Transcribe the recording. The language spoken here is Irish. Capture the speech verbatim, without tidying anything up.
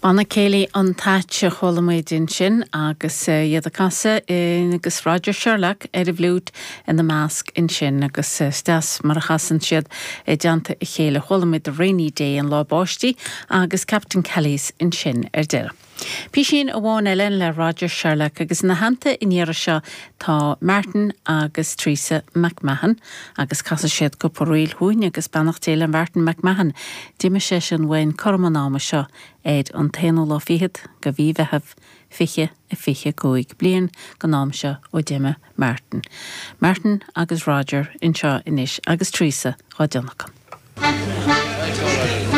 Banna Céilí an Thatch a chuala muid ansin agus iad ag casadh agus Roger Sherlock ar an bhfliúit ina measc ansin agus is deas mar a chasann siad i dteannta a chéile chuala muid The Rainy Day an lá báistí agus Captain Kelly's ansin ar deireadh. Písín amháin eile le Roger Sherlock agus ina theannta an iarraidh seo tá Martin agus Teresa McMahon agus casfaidh siad cúpla ríl chugainn agus beannacht Dé le Martin McMahon. D'imigh sé sin uainn cothrom an ama seo ar an t-aonú lá fichead de mhí Mheithimh fiche a fiche cúig bliain den am seo ó d'imigh Martin. Martin agus Roger anseo anois agus Teresa á dtionlacan.